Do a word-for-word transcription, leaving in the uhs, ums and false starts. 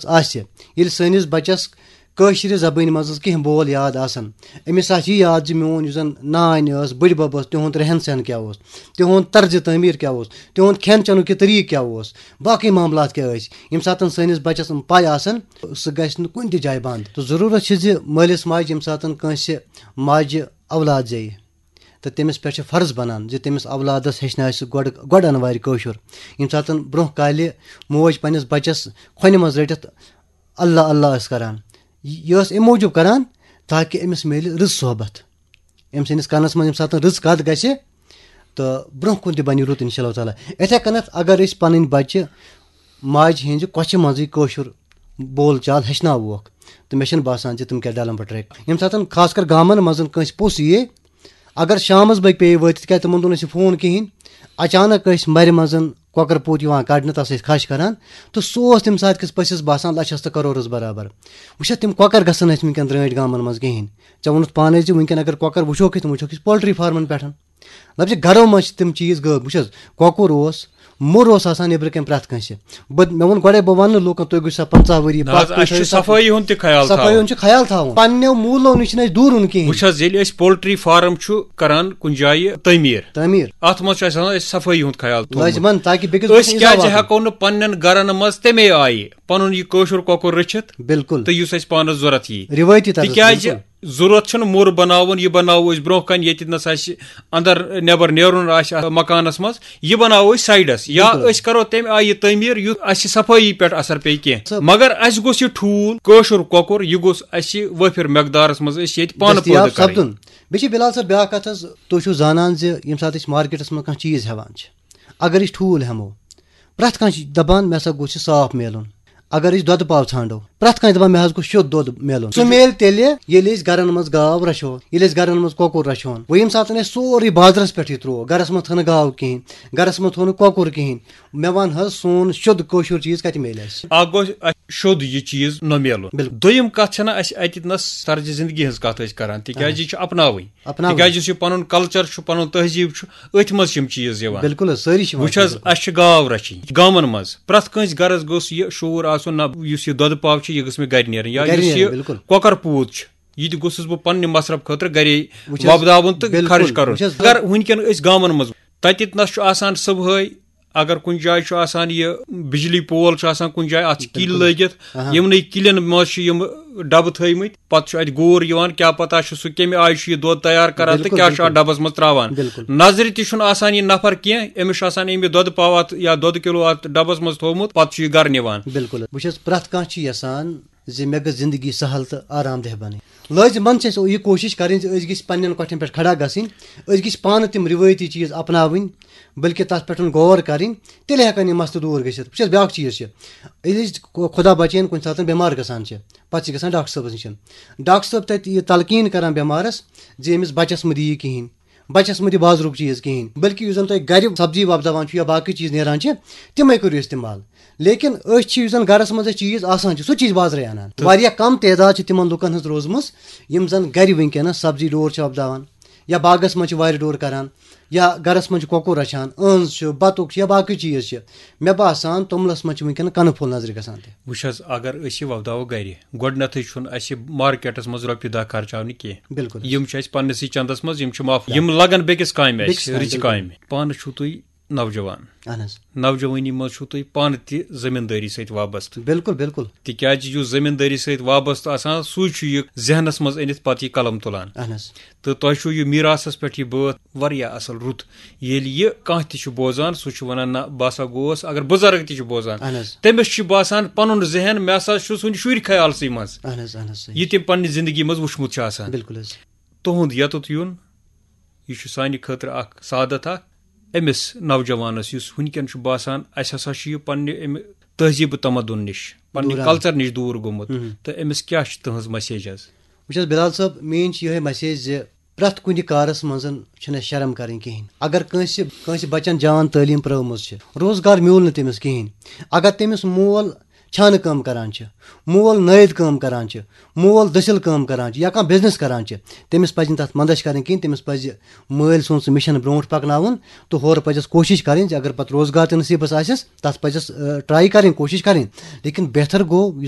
آسہِ، ییٚلہِ سٲنِس بَچَس کٲشرِ زبٲنۍ منٛز کینٛہہ بول یاد آسَن، أمِس آسہِ یہِ یاد زِ میون یُس زَن نانۍ ٲس، بٕڈِ بَب ٲس، تِہُنٛد رہن سہن کیٛاہ اوس، تِہُنٛد طرزِ تعمیٖر کیٛاہ اوس، تِہُنٛد کھٮ۪ن چٮ۪نُک یہِ طریٖقہٕ کیٛاہ اوس، باقٕے معاملات کیٛاہ ٲسۍ۔ ییٚمہِ ساتَن سٲنِس بَچَس یِم پَے آسَن، سُہ گژھِ نہٕ کُنہِ تہِ جایہِ بنٛد۔ تہٕ ضروٗرت چھِ زِ مٲلِس ماجہِ ییٚمہِ ساتَن کٲنٛسہِ ماجہِ اولاد زیٚیہِ، تہٕ تٔمِس پٮ۪ٹھ چھِ فرض بنان زِ تٔمِس اولادس ہیٚچھناوِ سُہ گۄڈٕ، گۄڈٕ انوارِ کٲشُر۔ ییٚمہِ ساتَن برٛونٛہہ کالہِ موج پنٛنِس بَچَس کھۄنہِ منٛز رٔٹِتھ اللہ اللہ ٲس کران، یہِ ٲس اَمہِ موٗجوٗب کران تاکہِ أمِس میلہِ رٕژ صحبت۔ أمۍ سٕنٛدِس کَنَس منٛز ییٚمہِ ساتَن رٕژ کَتھ گژھِ، تہٕ برٛونٛہہ کُن تہِ بَنہِ رُت، اِنشاء اللہ تعالیٰ۔ یِتھَے کٔنَتھ اگر أسۍ پَنٕنۍ بَچہِ ماجہِ ہِنٛزِ کۄچھِ منٛزٕے کٲشُر بول چال ہیٚچھناووکھ، تہٕ مےٚ چھَنہٕ باسان زِ تِم کیٛاہ ڈَلَن پَتہٕ ٹرٛیک۔ ییٚمہِ ساتَن خاص کر گامَن منٛز کٲنٛسہِ پوٚژھ یِیے، اگر شامَس بٲگۍ پیٚیہِ وٲتِتھ، کیٛازِ تِمَن دۄہَن ٲسۍ نہٕ فون کِہیٖنۍ، اچانک ٲسۍ مَرِ منٛز کۄکَر پوٗت یِوان کَڑنہٕ، تَس ٲسۍ خَش کَران، تہٕ سُہ اوس تَمہِ ساتہٕ کِس پٔژھِس باسان لَچھَس تہٕ کَرورَس برابر۔ وٕچھ حظ، تِم کۄکَر گژھن اَسہِ وٕنکٮ۪ن درٛٲنٛٹھۍ گامَن منٛز کِہیٖنۍ۔ ژےٚ ووٚنُتھ پانَے زِ وٕنکٮ۪ن اگر کۄکَر وٕچھوکھ أسۍ، تِم وٕچھوکھ أسۍ پولٹری فارمَن پٮ۪ٹھ۔ مطلب زِ گرو منٛز چھِ تِم چیٖز غٲب۔ وٕچھ حظ، کۄکُر اوس، موٚر اوس آسان نیٚبرٕ کَنۍ پرٛٮ۪تھ کٲنٛسہِ۔ بہٕ، مےٚ ووٚن گۄڈَے، بہٕ وَنہٕ نہٕ لوٗکَن، تُہۍ گٔژھِو سا پنٛژاہ ؤری نہ حظ، پَتھ، تُہۍ اَسہِ چھُ تھٲیِو سا صفٲیی ہُنٛد تہِ خیال صفٲیی تھاوُن۔ ہُنٛد چھُ خیال تھاوُن۔ پنٛنیو موٗلو نِش چھِنہٕ اَسہِ دوٗرُن کِہیٖنۍ۔ وٕچھ حظ، ییٚلہِ أسۍ پولٹری فارم چھُ کران کُنہِ جایہِ تعمیٖر، تعمیٖر۔ اَتھ منٛز چھُ اَسہِ آسان اَسہِ صفٲیی ہُنٛد خیال تھاوُن۔ لٲزمَن، تاکہِ بیٚکِس گوٚژھ أسۍ نہٕ کیٛازِ اِضافہٕ واتُن۔ ہٮ۪کو نہٕ پنٛنٮ۪ن گرَن منٛز تَمے آیہِ پَنُن یہِ کٲشُر کۄکُر رٔچھِتھ؟ بِلکُل۔ تہٕ یُس اَسہِ پانَس ضوٚرَتھ یی۔ رِوٲیتی طرز، تِکیٛازِ بِلکُل۔ ضوٚرَتھ چھُنہٕ موٚر بَناوُن، یہِ بَناوو أسۍ برٛونٛہہ کَنہِ، ییٚتہِ نَس اَسہِ اَندَر نٮ۪بَر نیرُن آسہِ اَتھ مکانَس منٛز، یہِ بَناوو أسۍ سایڈَس، یا بِلکُل۔ أسۍ کَرو تَمہِ آیہِ یہِ تعمیٖر، یُتھ اَسہِ صفٲیی پٮ۪ٹھ اَثر پیٚیہِ کینٛہہ۔ سَب- مگر اَسہِ گوٚژھ یہِ ٹھوٗل، کٲشُر کۄکُر، یہِ گوٚژھ اَسہِ وٲفِر مٮ۪قدارَس منٛز أسۍ ییٚتہِ پانہٕ دٔستیاب پٲدٕ کَرٕنۍ۔ سَپدُن۔ بیٚیہِ چھِ بِلال صٲب بیٛاکھ کَتھ حظ، تُہۍ چھِو زانان زِ ییٚمہِ ساتہٕ أسۍ مارکیٹَس منٛز کانٛہہ چیٖز ہٮ۪وان چھِ، اگر أسۍ ٹھوٗل ہٮ۪مو، پرٛٮ۪تھ کانٛہہ چھِ دَپان، "مےٚ ہسا گوٚژھ یہِ صاف میلُن۔" اگر أسۍ دۄدٕ پاو ژھانٛڈو، پرٛٮ۪تھ کانٛہہ چھِ دَپان، "مےٚ حظ گوٚژھ شوٚد دۄد میلُن۔" سُہ میلہِ تیٚلہِ، ییٚلہِ أسۍ گَرَن منٛز گاو رَچھو، ییٚلہِ أسۍ گَرَن منٛز کۄکُر رَچھون۔ وۄنۍ ییٚمہِ ساتَن اَسہِ سورُے بازرَس پٮ۪ٹھ یہِ ترٛوو، گَرَس منٛز تھٲو نہٕ گاو کِہیٖنۍ، گَرَس منٛز تھوٚو نہٕ کۄکُر کِہیٖنۍ، مےٚ وَن حظ، سون شوٚد کٲشُر چیٖز کَتہِ میلہِ اَسہِ؟ اَکھ گوٚو اَسہِ شوٚد یہِ چیٖز نہ میلُن۔ بِلکُل۔ دوٚیِم کَتھ چھَنہ اَسہِ اَتہِ نَس طرزِ زِندگی ہٕنٛز کَتھ أسۍ کَران، تِکیٛازِ اَہَن۔ یہِ چھِ اَپناوٕنۍ۔ اَپناوٕنۍ۔ تِکیٛازِ یُس یہِ پَنُن کَلچَر چھُ، پَنُن تہذیٖب چھُ، أتھۍ منٛز چھِ یِم چیٖز یِوان۔ بِلکُل حظ، سٲری چھِ یِوان۔ وٕچھ حظ، بِلکُل۔ اَسہِ چھِ گاو رَچھِنۍ۔ گامَن منٛز پرٛٮ۪تھ کٲنٛسہِ گَرَس گوٚژھ یہِ شعوٗر آسُن، نہ، یُس یہِ دۄدٕ پاو چھُ، یہِ گٔژھ مےٚ گَرِ نیرٕنۍ، یا گَرِ یُس نیرٕنۍ، یہِ بِلکُل۔ کۄکَر پوٗت چھُ، یہِ تہِ گوٚژھُس بہٕ پنٛنہِ مصرف خٲطرٕ گَرے وٕچھ حظ، وۄپداوُن تہٕ بِلکُل۔ خرٕچ کَرُن۔ وٕچھ حظ۔ اگر وٕنکٮ۪ن أسۍ گامَن منٛز، تَتہِ نَس چھُ آسان صُبحٲے، اگر کُنہِ جایہِ چھُ آسان یہِ بجلی پول چھُ آسان کُنہِ جایہِ، اَتھ چھِ کِلۍ بِلکُل۔ لٲگِتھ، اَہَن۔ یِمنٕے کِلٮ۪ن منٛز چھِ یِم ڈَبہٕ تھٲومٕتۍ، پَتہٕ چھُ اَتہِ غور یِوان، کیٛاہ پَتہ چھُ سُہ کَمہِ آیہِ چھُ یہِ دۄد تیار کَران تہٕ بِلکُل، کیٛاہ چھُ اَتھ بِلکُل۔ ڈَبَس منٛز ترٛاوان۔ بِلکُل۔ نظرِ تہِ چھُنہٕ آسان یہِ نفر کینٛہہ، أمِس چھُ آسان أمۍ یہِ دۄدٕ پاو اَتھ یا دۄدٕ کِلوٗ اَتھ ڈَبَس منٛز تھوٚومُت، پَتہٕ چھُ یہِ گَرٕ نِوان۔ بِلکُل۔ وٕچھ حظ، پرٛٮ۪تھ کانٛہہ چھُ یَژھان زِ مےٚ گٔژھ زندگی سہل تہٕ آرام دہ بنٕنۍ۔ لٲزمن چھِ اَسہِ یہِ کوٗشِش کَرٕنۍ زِ أسۍ گٔژھۍ پننٮ۪ن کۄٹھٮ۪ن پٮ۪ٹھ کھڑا گژھٕنۍ، أسۍ گٔژھۍ پانہٕ تِم رِوٲیتی چیٖز اپناوٕنۍ، بلکہِ تَتھ پٮ۪ٹھ غور کَرٕنۍ، تیٚلہِ ہٮ۪کَن یِم مسلہٕ دوٗر گٔژھِتھ۔ وٕچھ حظ، بیٛاکھ چیٖز چھِ، ییٚلہِ أسۍ خۄ-، خۄدا بچٲیِن کُنہِ ساتہٕ بٮ۪مار گژھان چھِ، پَتہٕ چھِ گژھان ڈاکٹر صٲبَس نِش۔ ڈاکٹر صٲب تَتہِ یہِ تلقیٖن کران بٮ۪مارَس زِ أمِس بَچَس مہٕ دِیِو کِہیٖنۍ، بَچَس مہٕ دِ بازرُک چیٖز کِہیٖنۍ، بلکہِ یُس زَن تۄہہِ گَرِ سبزی وۄپداوان چھُ یا باقٕے چیٖز نیران چھِ، تِمَے کٔرِو استعمال۔ لیکن أسۍ چھِ، یُس زَن گَرَس منٛز اَسہِ چیٖز آسان چھِ، سُہ چھِ أسۍ بازرَے اَنان۔ تہٕ واریاہ کَم تعداد چھِ تِمَن لُکَن ہٕنٛز روٗزمٕژ، یِم زَن گَرِ وٕنکیٚنَس سبزی ڈور چھِ وۄپداوان یا باغَس منٛز چھِ وارِ ڈور کَران یا گَرَس منٛز چھِ کۄکُر رَچھان، أہنٛز چھُ، بَتُک چھُ یا باقٕے چیٖز چھِ۔ مےٚ باسان، توٚملَس منٛز چھِ وٕنکیٚنَس کَنہٕ پھوٚل نظرِ گژھان تہِ۔ وٕچھ حظ، اگر أسۍ یہِ وۄپداوو گَرِ، گۄڈٕنٮ۪تھٕے چھُنہٕ اَسہِ مارکیٹَس منٛز رۄپیہِ دَہ خرچاونہِ کینٛہہ۔ بِلکُل۔ یِم چھِ اَسہِ پنٛنِسٕے چَندَس منٛز، یِم چھِ ماف، یِم لَگَن بیٚکِس کامہِ اَسہِ، بیٚکِس کامہِ، رٕژِ بِلکُل۔ کامہِ۔ پانہٕ چھُو تُہۍ نوجوان۔ اہن حظ۔ نوجوٲنی منٛز چھُو تُہۍ پانہٕ تہِ زٔمیٖندٲری سۭتۍ وابستہٕ۔ بِلکُل، بِلکُل۔ تِکیٛازِ یُس زٔمیٖندٲری سۭتۍ وابستہٕ آسان، سُے چھُ یہِ ذہنَس منٛز أنِتھ پَتہٕ یہِ قلم تُلان۔ اہن حظ۔ تہٕ تۄہہِ چھُو یہِ میٖراثَس پٮ۪ٹھ یہِ بٲتھ واریاہ اَصٕل رُت۔ ییٚلہِ یہِ کانٛہہ تہِ چھُ بوزان، سُہ چھُ وَنان، "نہ، بہٕ ہسا گوس"، اگر بُزرگ تہِ چھُ بوزان، اہن حظ۔ تٔمِس چھُ باسان پَنُن ذہن، مےٚ ہسا چھُ سُنٛد شُرۍ خیالسٕے منٛز۔ اہن حظ، اہن حظ، صحیح۔ یہِ تٔمۍ پنٛنہِ زِندگی منٛز وٕچھمُت چھُ آسان۔ بِلکُل حظ۔ تُہُنٛد یوٚتَتھ یُن، یہِ چھُ سانہِ خٲطرٕ اَکھ سعادت اَکھ۔ أمِس نوجوانَس، یُس وٕنکٮ۪ن چھُ باسان، اَسہِ ہسا چھُ یہِ پنٛنہِ اَمہِ تہذیٖب و تمدُن نِش، پنٛنہِ دوٗر آمُت۔ کلچر نِش دوٗر گوٚمُت، مہم۔ تہٕ أمِس کیٛاہ چھِ تُہٕنٛز message حظ؟ وٕچھ حظ بِلال صٲب، میٛٲنۍ چھِ یِہوٚے message زِ پرٛٮ۪تھ کُنہِ کارَس منٛز چھِنہٕ اَسہِ شرم کَرٕنۍ کِہیٖنۍ۔ اگر کٲنٛسہِ، کٲنٛسہِ بَچَن جان تعلیٖم پرٛٲومٕژ چھِ، روزگار میوٗل نہٕ تٔمِس کِہیٖنۍ۔ اگر تٔمِس مول چھانہٕ کٲم کَران چھِ، مول نٲیِد کٲم کَران چھِ، مول دٔسِل کٲم کَران چھِ یا کانٛہہ business کَران چھِ، تٔمِس پَزِ نہٕ تَتھ منٛدَچھ کَرٕنۍ کِہیٖنۍ، تٔمِس پَزِ مٲلۍ سُنٛد سُہ mission برونٛٹھ پَکناوُن تہٕ ہورٕ پَزٮ۪س کوٗشِش کَرٕنۍ زِ اگر پَتہٕ روزگار تہِ نصیٖبَس آسٮ۪س، تَتھ پَزٮ۪س، آ، try کَرٕنۍ، کوٗشِش کَرٕنۍ۔ لیکن بہتر گوٚو یُس